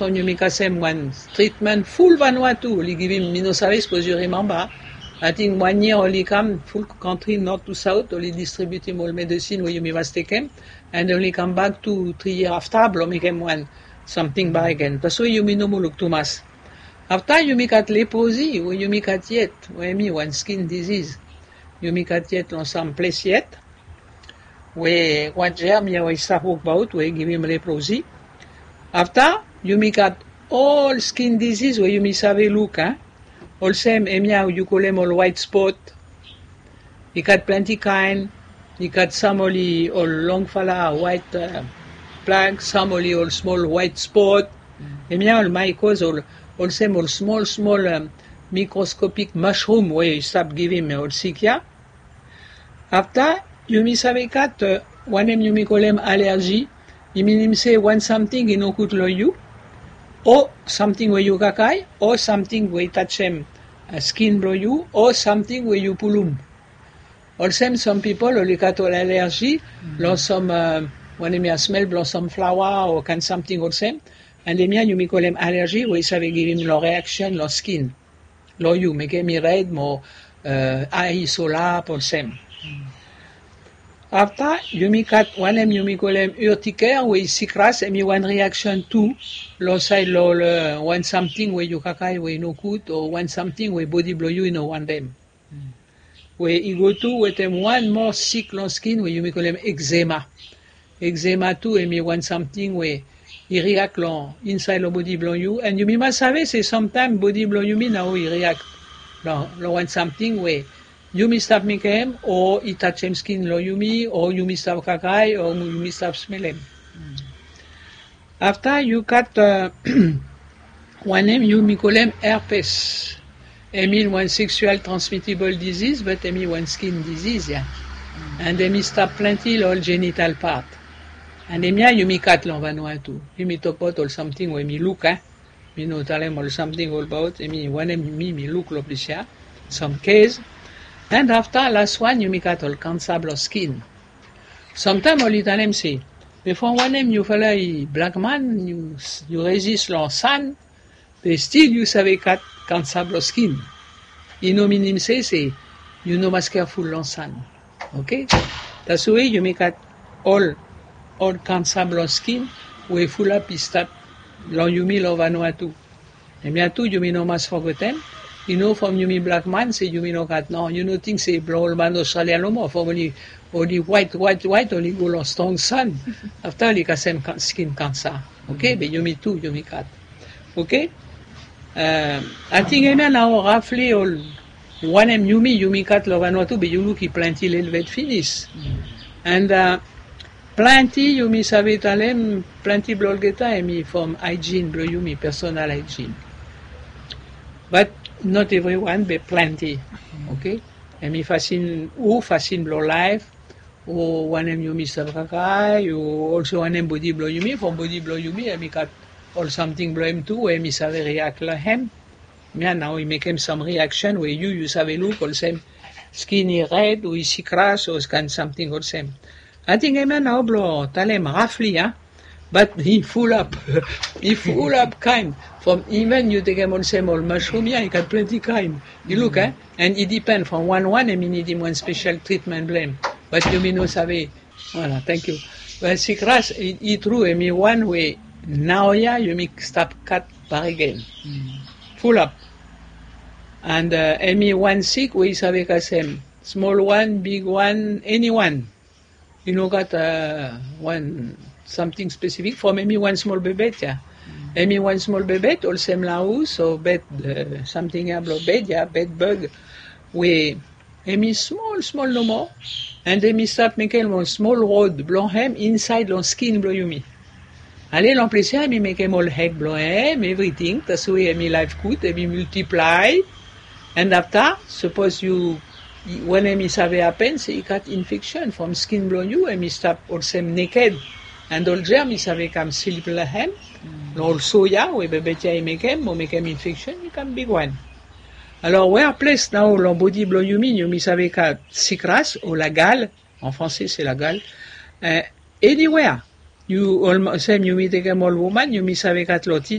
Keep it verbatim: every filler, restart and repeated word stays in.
Yumi kasem wan tritmen ful Vanuatu oli givim, mi no save, sapos yu rimemba. Ating wan yia oli kam ful kantri nord tu saot, oli distribiutim ol medesin we yumi mas tekem, and oli kambak tu tri yia afta blong mekem wan samting bakegen. Taswe yumi no moa luk tumas. Afta yumi gat leprozi we yumi gat yet, we hemi wan skin diziz. Yumi gat yet long sam ples yet. We wan jerm ya we i stap wokbaot we i givim leprozi. Afta yumi gat ol skin diziz we yumi save luk, a? Olsem hemia yu kolem ol waet spot. I gat plante kaen. I gat sam oli ol longfala waet, a, plag, sam oli ol smol waet spot. Hemia ol maekos, ol, olsem ol smol smol, a, mikroskopik masrum we i stap givim ol sik ya. Afta yumi save gat, a, wanem yumi kolem alerzi. I minim se wan samting i nogud long yu, o samting we yu kakae, o samting we i tajem, a, skin blong yu, o samting we yu pulum. Olsem sam pipol oli gat ol alerzi long sam, a, wanem ya, smel blong sam flaoa o kaen samting olsem. And hemia yumi kolem alerzi we i save givim long reaksen long skin. Long yu, mekem i red mo, a, ae i solap olsem. Afta yumi gat wanem yumi kolem urtiker we i sikras, hemi wan reaksen tu long saed long ol, a, wan samting we yu kakae we i nogud o wan samting we bodi blong yu i no wantem. We i go tu wetem wan moa sik long skin we yumi kolem ekzema. Ekzema tu hemi wan samting we i riak long insaed long bodi blong yu, and yumi mas save se samtaem bodi blong yumi nao i riak long, long wan samting we yumi stap mekem o i tajem skin blong yumi o yumi stap kakae o yumi stap smelem. Afta yu gat, a, wanem yumi kolem herpes. Hemi wan sexual transmittable disease, but hemi wan skin disease ya. And hemi stap plante long ol genital part. And hemia yumi gat long Vanuatu. Yumi tokbaot ol samting we mi luk, a? Mi no talem ol samting olbaot, hemi wanem mi, mi luk long ples ya. Sam kes. And afta las wan yumi gat ol kansa blong skin. Samtaem oli talem se, be from wanem yufala i blak man, yu, yu rezis long san, be stil yu save gat kansa blong skin. I no minim se, se yu no mas keaful long san. Oke? Taswe yumi gat ol, ol kansa blong skin we fulap i stap long yumi long Vanuatu. Hemia tu yumi no mas fogetem. I no from yumi blak man se yumi no gat, no, yu no ting se blong ol man Australia nomo from oli, oli waet, waet, waet, oli go long strong san. Afta oli kasem ka-, skin kansa. Oke, be yumi tu yumi gat. Oke? A, ating hemia nao rafli ol wanem yumi, yumi gat long Vanuatu, be yu luk i plante lelebet finis. And, a, plante yumi save talem, plante blong olgeta hemi from hygiene blong yumi, personal hygiene. But not everyone, be plante. Oke? Hemi fasin, o fasin blong laef, o wanem yumi stap kakae, o olsem wanem bodi blong yumi, from bodi blong yumi hemi gat ol samting blong hem tu we hemi save riak long hem. Hemia nao i mekem sam reaksen we yu, yu save luk olsem skin i red o i sikras o kaen samting olsem. Ating hemia nao blong talem rafli, a? But i fulap, i fulap kaen. From iven yu tekem olsem ol masrum ya, i gat plante kaen. Yu luk, a? And i dipen from wan wan hemi nidim wan spesel tritmen blong hem. But yumi no save. Voilà, thank you. Well, sikras i, i tru, hemi wan we naoia yumi stap gat bakegen. Fulap. And, a, hemi wan sik we i save kasem smol wan, big wan, eni wan. I no gat, a, wan samting spesifik from hemi wan smol bebet ya. Hemi wan smol bebet olsem laus o bed, a, samting ya blong bed ya, bed bug. We hemi smol smol nomo. And hemi stap mekem ol smol rod blong hem insaed long skin blong yumi. Ale long ples ya hemi mekem ol eg blong hem, evriting. Taswe hemi laef gud, hemi miltiplae. And afta, sapos yu, wanem i save hapen se i gat infeksen from skin blong yu, hemi stap olsem neked. And ol jerm i save kam slip long hem. Long ol so ya we bebet ya i mekem, mo mekem infeksen i kam bigwan. Alor, we ples nao long bodi blong yumi, yumi save gat sikras o lagal, en français se lagal, e, eniwea. Yu, olsem yumi tekem ol woman, yumi save gat long titi,